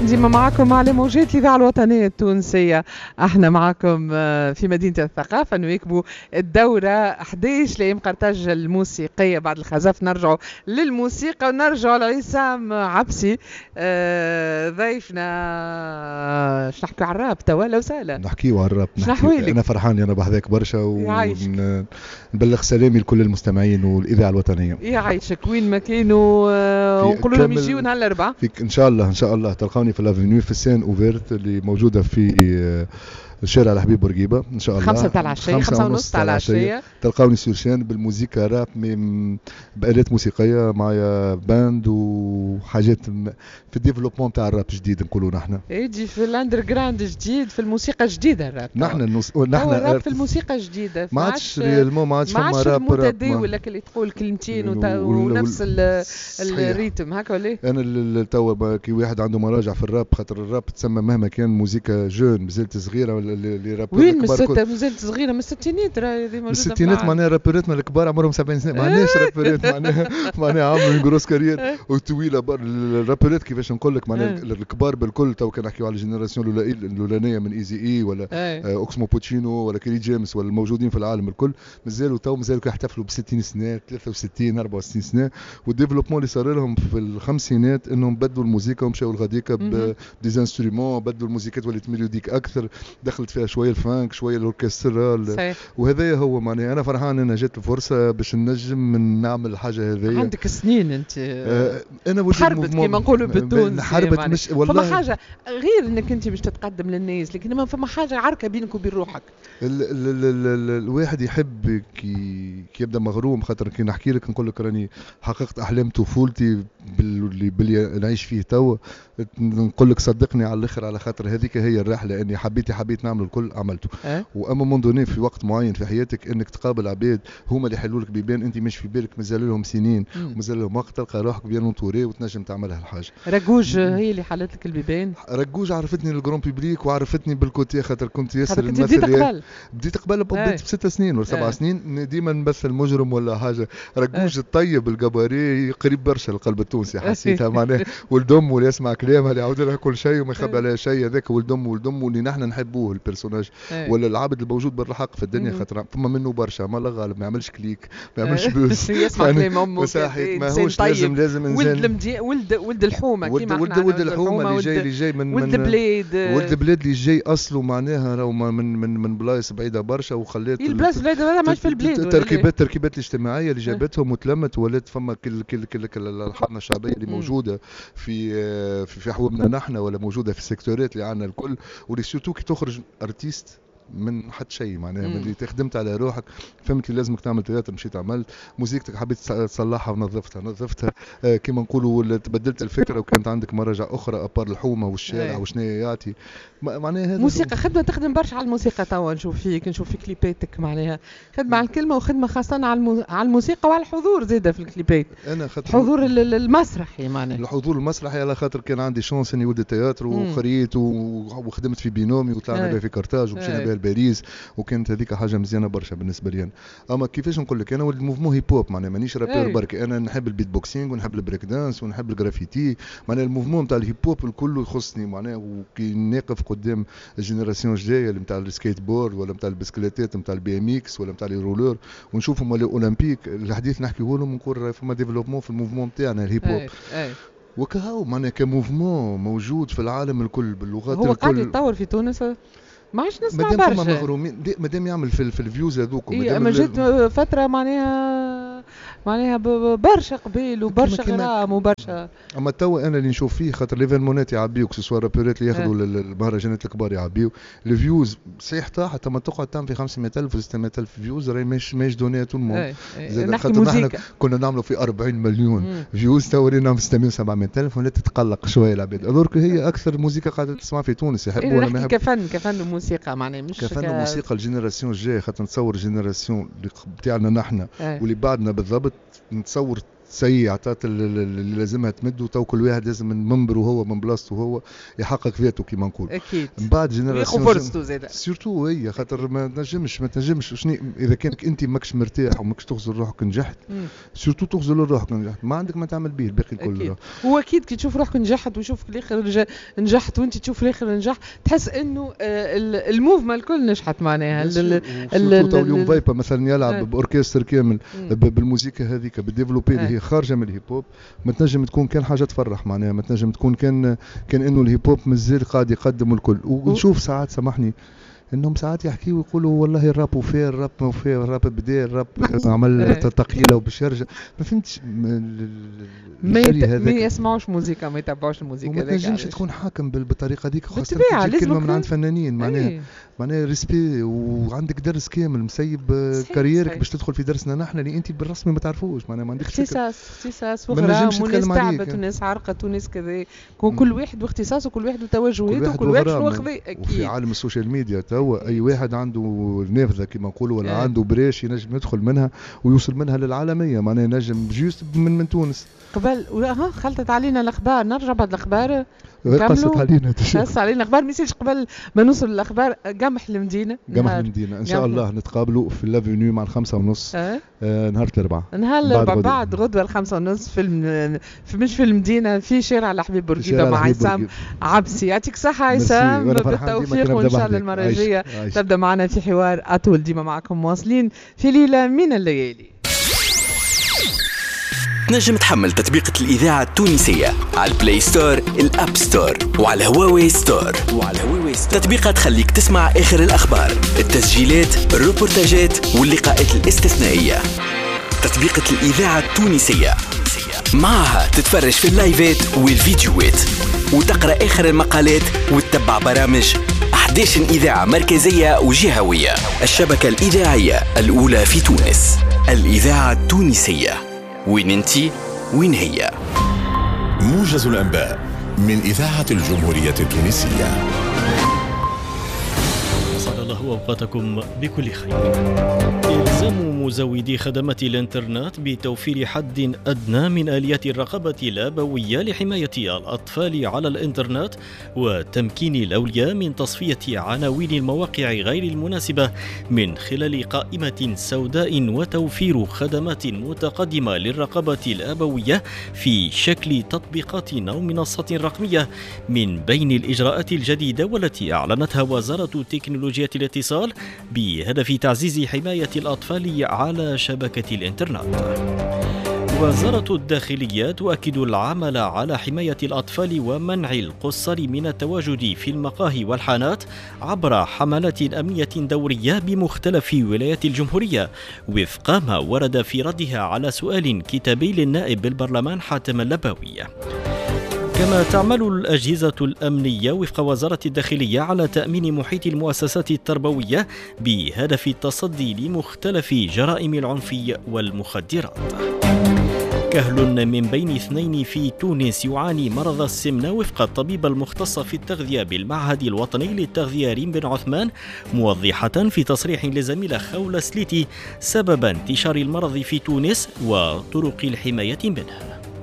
ديما معكم على موجات الإذاعة الوطنية التونسية. احنا معكم في مدينة الثقافة نواكبوا الدورة 11 لأيام قرطاج الموسيقية. بعد الخزف نرجعوا للموسيقى ونرجعوا لعصام عبسي ضيفنا. باش نحكيو على الراب توا لو سهلة. نحكيو على الراب. أنا فرحان أنا بحذاك برشا ونبلغ سلامي لكل المستمعين والإذاعة الوطنية. يعيشك وين ما كانوا ونقولوا لهم يجيو نهار الأربعاء. إن شاء الله إن شاء الله تلقاوني في l'avenue في ال scène ouverte اللي موجودة في شارع الحبيب بورقيبة ان شاء الله 5 تاع العشية، 5:30 تاع العشية. تلقاوني sur scène بالموسيقى راب بآلات موسيقية، معايا band وحاجات في ال développement تاع الراب جديد نقولوا نحن. يجي في ال underground جديد، في الموسيقى الجديدة الراب. نحن الراب في الموسيقى الجديدة ما عادش réellement، ما عادش فما راب راب ولا اللي تقول كلمتين ونفس ال rythme هكا ولا. انا توا كي واحد عنده مراجع في الراب، خاطر الراب تسمى مهما كان موسيقى jeune مازالت صغيرة، les rappeurs وين مازالت صغيرة من الستينات راهي موجودة. من الستينات معناها رابوراتنا الكبار عمرهم 70 سنة، ما عندناش رابورات معناها عملوا grosse carrière وطويلة. الرابورات كيفاش نقول لك معناها الكبار بالكل تو كان نحكيو على ال génération الاولانية من Eazy-E ولا اوكسمو بوتشينو ولا كيري جيمس ولا الموجودين في العالم الكل، مازالوا تو مازالوا يحتفلوا ب 60 سنة، 63 64 سنة. وال développement اللي صار لهم في الخمسينات انهم بدلوا الموسيقى ومشاو لغاديكا ب des instruments، بدلوا الموسيقات ولات mélodique اكثر، دخلت فيها شوية ال funk شوية ال orchestral. وهذا هو معناها انا فرحان انا جات الفرصة باش نجم نعمل الحاجة هذيا. عندك سنين انت انا حربت كيما نقولوا بالتونسي، حربت مش والله. فما حاجة غير انك انت باش تتقدم للناس، لكن ما فما حاجة عركة بينك وبين روحك. ال ال ال ال الواحد يحب كي يبدا مغروم، خاطر كي نحكي لك نقول لك راني حققت احلام طفولتي باللي نعيش فيه توا، نقول لك صدقني على الاخر، على خاطر هذيك هي الرحلة اني حبيت نعمل الكل عملته. و à un moment donné في وقت معين في حياتك انك تقابل عباد هما اللي يحلوا لك بيبان انت مش في بالك، مازال لهم سنين ومازال لهم وقت، تلقى روحك bien entouré وتنجم تعملها الحاجة. رجوج هي اللي حلت لك البيبان. رجوج عرفتني لل grand public وعرفتني بال côté، خاطر كنت ياسر نمثل. بديت قبل بديت ب6 سنين ولا 7 سنين ديما نمثل مجرم ولا حاجة. رجوج الطيب الجباري قريب برشا للقلب التونسي حسيتها معناها، ولد امه اللي يسمع كلامها اللي يعاود لها كل شيء وما يخبي عليها شيء، هذاك ولد امه ولد امه اللي نحن نحبوه ال personnage ولا العبد الموجود بالحق في الدنيا، خاطر فما منه برشا ما لا غالب، ما يعملش clic ما يعملش buzz يسمع كلام امه ماهوش لازم انسان ولد الحومه كيما ولد الحومه اللي جاي من ولد البلاد، ولد البلاد اللي جاي اصله معناها راهو من بلايص بعيدة برشا، وخلات البلايص بعيدة ماهيش في البلاد. التركيبات الاجتماعية اللي جابتهم وتلمت ولات فما كل كل كل الحضنه الشعبية اللي موجودة في في حومنا نحن ولا موجودة في السيكتورات اللي عندنا الكل، واللي surtout كي تخرج artiste من حد شيء معناها من اللي تخدمت على روحك، فهمت اللي لازمك تعمل théâtre مشيت عملت موزيكتك، حبيت تصلحها ونظفتها كيما نقولوا تبدلت الفكرة وكانت عندك مراجع اخرى à part الحومه والشارع وشنو يعطي معناها. موسيقى خدمة تخدم برشا على الموسيقى توا، نشوف فيك نشوف في كليباتك معناها خدمة على الكلمة وخدمه خاصة على الموسيقى وعلى الحضور زاده في الكليبات. انا خاطر الحضور المسرحي معناها الحضور المسرحي، على خاطر كان عندي chance اني ولد théâtre وقريت وخدمت في بينومي وطلعنا بها في كارتاج ومشينا بها لباريس، وكانت هذيك حاجة مزيانه برشا بالنسبة لي انا. اما كيفاش نقول لك انا ولد mouvement hip hop معناها مانيش rappeur برك، انا نحب البيت بوكسينغ ونحب البريك دانس ونحب الجرافيتي، معناها ال mouvement تاع ال hip hop الكل يخصني معناها. وكي نقف قدام ال génération الجاية اللي نتاع السكيت بورد ولا نتاع البسكليتات نتاع ال BMX ولا نتاع les rollers ونشوفهم ولا اولمبيك الحديث نحكيه لهم نقول فما développement في ال mouvement تاعنا ال hip hop وكهو معناها ك mouvement موجود في العالم الكل باللغات الكل. هو قاعد يتطور في تونس ما عادش نسمع برشا، مادام فما مغرومين، مادام يعمل في ال vues هذوك. اما جات فترة معناها برشا قبيل وبرشا غرام وبرشا. اما توا انا اللي نشوف فيه خاطر l'événement يعبيو que ce soit رابورات اللي ياخذوا المهرجانات الكبار يعبيو ال vues صحيح طاحت، اما تقعد تعمل في 500,000 و 600,000 vues راهي ماهيش donnée tout le monde. خاطر نحن كنا نعملوا في 40 مليون vues، توا ولينا في 600 700,000 ولات تتقلق شوية العباد. alors هي اكثر موسيقى قاعدة تسمع في تونس يحبوا ولا ما يحبوا. كفن وموسيقى معناها مش كفن وموسيقى. ال génération الجاية خاطر نتصور ال génération اللي بتاعنا نحن واللي بعدنا بالضبط نتصور سي عطات اللي لازمها تمد، وتو كل واحد لازم من منبره هو من بلاصته هو يحقق ذاته كيما نقول. اكيد. من بعد génération فرصته زاده surtout هي، خاطر ما تنجمش شنو اذا كانك انت ماكش مرتاح وماكش تغزر روحك نجحت، surtout تغزر روحك نجحت، ما عندك ما تعمل به الباقي الكل. هو اكيد كي تشوف روحك نجحت ويشوف الاخر نجحت وانت تشوف الاخر نجح، تحس انه ال mouvement الكل نجحت معناها. اليوم فايبا مثلا يلعب باوركستر كامل بالموسيقى هذيك بال développé اللي هي خارجه من ال hip hop، ما تنجم تكون كان حاجة تفرح معناها، ما تنجم تكون كان انه ال hip hop مازال قاعد يقدم الكل. ونشوف ساعات سامحني انهم ساعات يحكيوا ويقولوا والله الراب وفيه، الراب ما وفيه، الراب بدا، الراب عمل تقيلة وباش يرجع. ما فهمتش ما يسمعوش موسيقى، ما يتبعوش الموسيقى. ما تنجمش تكون حاكم بالطريقة هذيك، خاصة كلمة من عند فنانين معناها معناها respect، وعندك درس كامل مسيب carrière ك باش تدخل في درسنا نحن اللي انت بالرسمي ما تعرفوش معناها، ما عندكش اختصاص وغرام، وناس تعبت وناس عرقت وناس كذا، كل واحد واختصاصه وكل واحد وتوجهاته وكل واحد شنو خذا. اكيد. وفي عالم ال social media تو اي واحد عنده نافذة كما نقولوا ولا عنده brèche ينجم يدخل منها ويوصل منها للعالمية معناها، ينجم juste من تونس. قبل خلطت علينا الاخبار، نرجع بعد الاخبار. قصت علينا قصت علينا الاخبار، ما يصيرش قبل ما نوصل للاخبار. قمح المدينة، قمح المدينة ان شاء الله نتقابلوا في l'avenue مع 5:30 نهار الاربعاء. نهار الاربعاء بعد غدوه 5:30 في مش في المدينة، في شارع الحبيب بورقيبة مع عصام عبسي. يعطيك الصحة عصام، بالتوفيق، وان شاء الله المرة الجاية تبدا معنا في حوار اطول. ديما معكم مواصلين في ليلة من الليالي. تنجم تحمل تطبيقة الإذاعة التونسية على ال Play Store، ال App Store، وعلى هواوي Store. تطبيقة تخليك تسمع آخر الأخبار، التسجيلات، الروبورتاجات واللقاءات الاستثنائية. تطبيقة الإذاعة التونسية معها تتفرج في اللايفات والفيديوهات وتقرأ آخر المقالات وتتبع برامج 11 إذاعة مركزية وجهوية. الشبكة الإذاعية الأولى في تونس، الإذاعة التونسية. وين انتي وين هي. موجز الأنباء من إذاعة الجمهورية التونسية. أسعد الله أوقاتكم بكل خير. إلزام مزودي خدمات الإنترنت بتوفير حد أدنى من آليات الرقابة الأبوية لحماية الأطفال على الإنترنت وتمكين الأولياء من تصفية عناوين المواقع غير المناسبة من خلال قائمة سوداء وتوفير خدمات متقدمة للرقابة الأبوية في شكل تطبيقات أو منصات رقمية من بين الإجراءات الجديدة والتي أعلنتها وزارة تكنولوجيا الاتصال بهدف تعزيز حماية الأطفال على شبكة الإنترنت. وزارة الداخلية تؤكد العمل على حماية الأطفال ومنع القصر من التواجد في المقاهي والحانات عبر حملات أمنية دورية بمختلف ولايات الجمهورية، وفق ما ورد في ردها على سؤال كتابي للنائب بالبرلمان حاتم اللباوي. كما تعمل الأجهزة الأمنية وفق وزارة الداخلية على تأمين محيط المؤسسات التربوية بهدف التصدي لمختلف جرائم العنف والمخدرات. كهل من بين 2 في تونس يعاني مرض السمنة وفق الطبيب المختص في التغذية بالمعهد الوطني للتغذية ريم بن عثمان، موضحة في تصريح لزميلة خولة سليتي سبب انتشار المرض في تونس وطرق الحماية منه.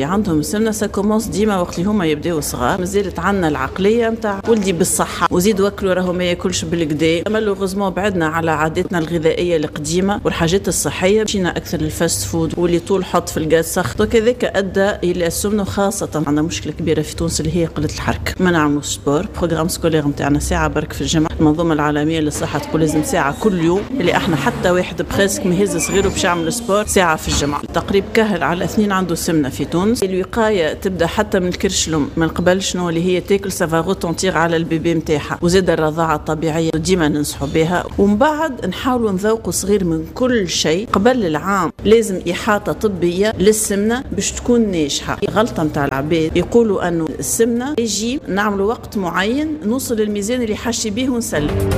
عندهم السمنة ça commence ديما وقت اللي هما يبداو صغار، مازالت عندنا العقلية نتاع ولدي بالصحة وزيد وكلوا راهو ما ياكلش بالكدا. malheureusement بعدنا على عاداتنا الغذائية القديمة والحاجات الصحية، مشينا اكثر لل fast-food واللي طول حط في الغاز سخط، وكذاك ادى الى السمنة. خاصة عندنا مشكلة كبيرة في تونس اللي هي قلة الحركة، ما نعملوش sport. programme scolaire نتاعنا ساعة برك في الجمعة، المنظومة العالمية للصحة تقول لازم ساعة كل يوم، اللي احنا حتى واحد presque ما يهز صغيرة باش يعمل sport ساعة في الجمعة. تقريب كهل على 2 عنده سمنه في تونس. الوقاية تبدا حتى من الكرش الام من قبل، شنو اللي هي تاكل ça va retentir على ال bébé نتاعها، وزاد الرضاعة الطبيعية ديما ننصحوا بها. ومن بعد نحاولوا نذوقوا صغير من كل شيء قبل العام، لازم احاطة طبية للسمنه باش تكون ناجحة. غلطه نتاع العباد يقولوا انه السمنة يجي نعملوا وقت معين نوصل للميزان اللي حاشي به ونسلم.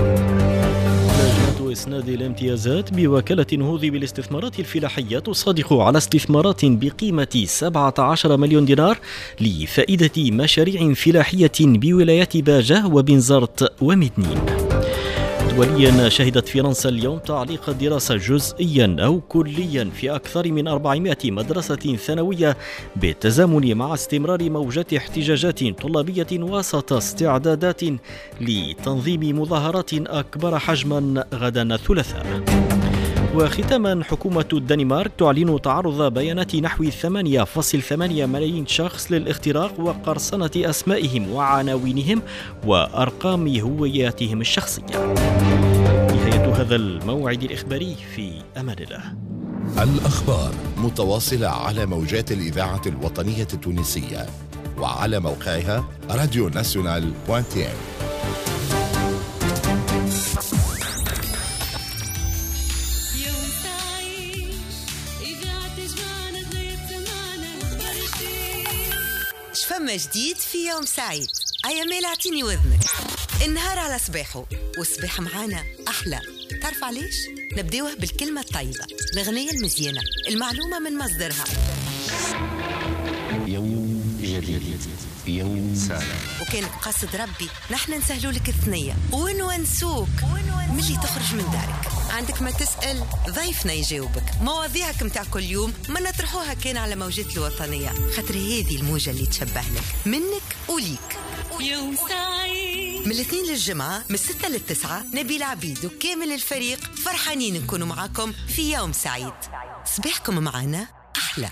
إسناد الامتيازات بوكالة النهوض بالاستثمارات الفلاحية تصادق على استثمارات بقيمة 17 مليون دينار لفائدة مشاريع فلاحية بولايات باجة وبنزرت ومدنين. دوليا، شهدت فرنسا اليوم تعليق الدراسة جزئيا أو كليا في أكثر من 400 مدرسة ثانوية بالتزامن مع استمرار موجات احتجاجات طلابية وسط استعدادات لتنظيم مظاهرات أكبر حجما غدا الثلاثاء. وختاما، حكومة الدنمارك تعلن تعرض بيانات نحو 8.8 ملايين شخص للاختراق وقرصنة أسمائهم وعناوينهم وأرقام هوياتهم الشخصية. نهاية هذا الموعد الإخباري، في أمان الله. الأخبار متواصلة على موجات الإذاعة الوطنية التونسية وعلى موقعها radio nationale.tn. فما جديد في يوم سعيد. أيا ميل اعطيني وذنك. النهار على صباحه والصباح معانا أحلى. تعرف علاش؟ نبداوه بالكلمة الطيبة، الأغنية المزيانة، المعلومة من مصدرها. يوم جديد، يوم سعيد. وكان قصد ربي نحن نسهلوا لك الثنية ونونسوك ملي تخرج من دارك. عندك ما تسأل ضيفنا يجاوبك. مواضيعك متاع كل يوم ما نطرحوها كان على موجات الوطنية، خاطر هذه الموجة اللي تشبه لك، منك وليك. يوم سعيد من الاثنين للجمعة من 6 للتسعة، نبيل عبيد وكامل الفريق فرحانين نكونوا معاكم في يوم سعيد. صباحكم معنا أحلى.